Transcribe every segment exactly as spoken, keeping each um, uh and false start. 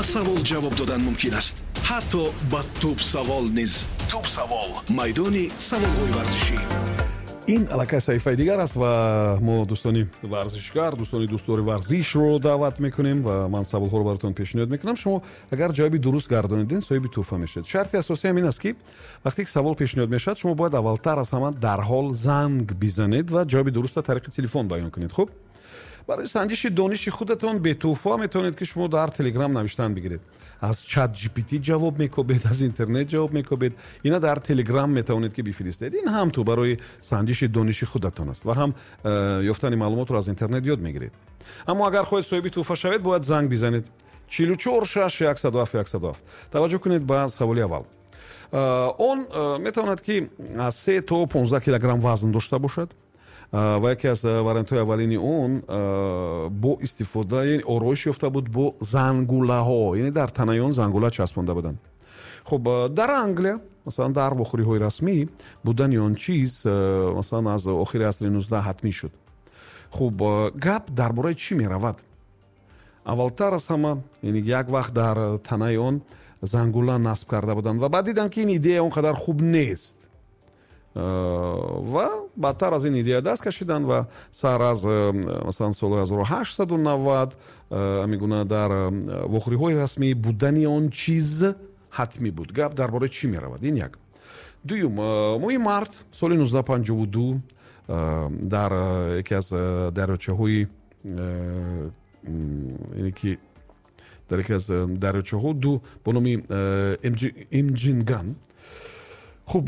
Ҳама савол ҷавоб додан мумкин аст, ҳатто ба тӯб савол низ. Тӯб савол, майдони саволҳои варзишӣ. Ин аллакай саҳифаи дигар аст ва мо дӯстони варзишгар, дӯстони дӯстдори варзишро даъват мекунем ва ман саволҳоро баротон пешниҳод мекунам. Шумо агар ҷавоби дуруст гардонидед, соҳиби тӯҳфа мешавед. Шарти асосӣ ҳам ин аст, ки вақте ки савол пешниҳод мешавад, шумо бояд аввалтар аз ҳама дарҳол занг бизанед ва ҷавоби дурустро тариқи телефон баён кунед. Хуб, барои санҷиши дониши худатон бетӯҳфа метавонед, ки шумо дар Телеграм навиштан бигиред. Аз чат G P T ҷавоб мекобед, аз интернет ҷавоб мекобед, ина дар Телеграм метавонед, ки бифиристед. Ин ҳам ту барои санҷиши дониши худатон аст ва ҳам э, ёфтани маълумотро аз интернет ёд мегиред. Аммо агар хоҳед соҳиби тӯҳфа шавед, бояд занг бизанед: чилу чор шаш яксаду ҳафт яксаду ҳафт. Таваҷҷӯҳ кунед ба саволи аввал. э, он э, метавонад, ки аз се то понздаҳ килограмм вазн дошта бошад ва яке аз вариантҳои аввалини он бо истифода ороиш ёфта буд бо зангулаҳо, яъне дар танаи он зангула часпонда буданд. Хуб, дар Англия, масалан, дар вохӯриҳои расмӣ будани он чиз, масалан, аз охири асри нуздаҳ ҳатмӣ шуд. Хуб, гап дар бораи чӣ меравад? Аввалтар аз ҳама, яъне як вақт дар танаи он зангула насб карда буданд ва баъд диданд, ки ин идея он қадар хуб нест, ва баъдтар аз ин идея даст кашиданд ва сар аз, масалан, соли ҳазору ҳаштсаду навад ҳамин гуна дар вохӯриҳои расмӣ будани он чиз ҳатмӣ буд. Гап дар бораи чӣ меравад? Ин як. Дуюм, моҳи март соли нуздаҳ панҷоҳу ду дар яке аз дарёчаҳои, яъне ки дар яке аз дарёчаҳо ду бо номи Имҷинган, хуб,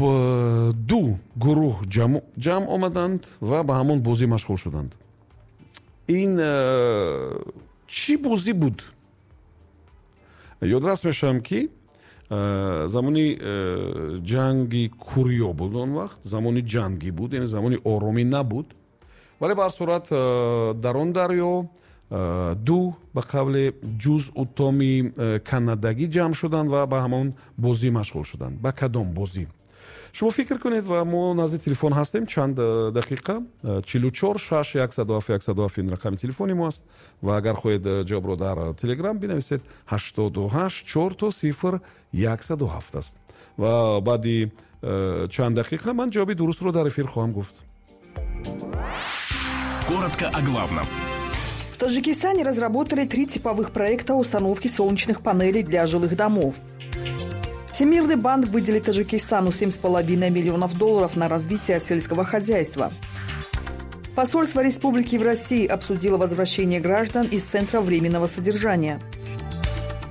ду гурӯҳ ҷамъ омаданд ва ба ҳамон бозӣ машғул шуданд. Ин чӣ бозӣ буд? Ёдрас мешавам, ки замони ҷанги Кӯриё буд. Он вақт замони ҷангӣ буд, яъне замони оромӣ набуд, вале ба ҳар сурат дар он дарё ду, ба қавле, ҷузъутоми канадагӣ ҷамъ шуданд ва ба ҳамон бозӣ машғул шуданд. Ба кадом бозӣ? Шумо фикр кунед ва мо назди телефон ҳастем чанд дақиқа. Чилу чор шаш яксаду ҳафт яксаду ҳафт ин рақами телефони мо аст ва агар хоҳед, ҷавобро дар Телеграм бинависед, ҳаштоду ҳашт чор то сифр яксаду ҳафт аст ва баъди чанд дақиқа ман ҷавоби дурустро дар эфир хоҳам гуфт. Коротко о главном. В Таджикистане разработали три типовых проекта установки солнечных панелей для жилых домов. Всемирный банк выделит Таджикистану семь с половиной миллионов долларов на развитие сельского хозяйства. Посольство республики в России обсудило возвращение граждан из Центра временного содержания.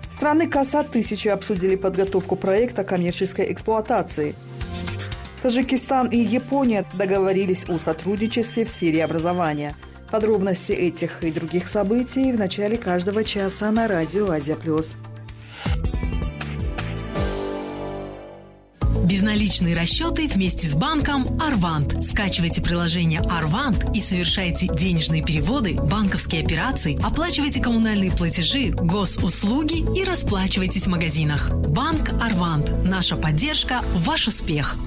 Страны КАСА тысячи обсудили подготовку проекта коммерческой эксплуатации. Таджикистан и Япония договорились о сотрудничестве в сфере образования. Подробности этих и других событий в начале каждого часа на радио «Азия плюс». Безналичные расчеты вместе с банком «Арвант». Скачивайте приложение «Арвант» и совершайте денежные переводы, банковские операции, оплачивайте коммунальные платежи, госуслуги и расплачивайтесь в магазинах. Банк «Арвант». Наша поддержка – ваш успех.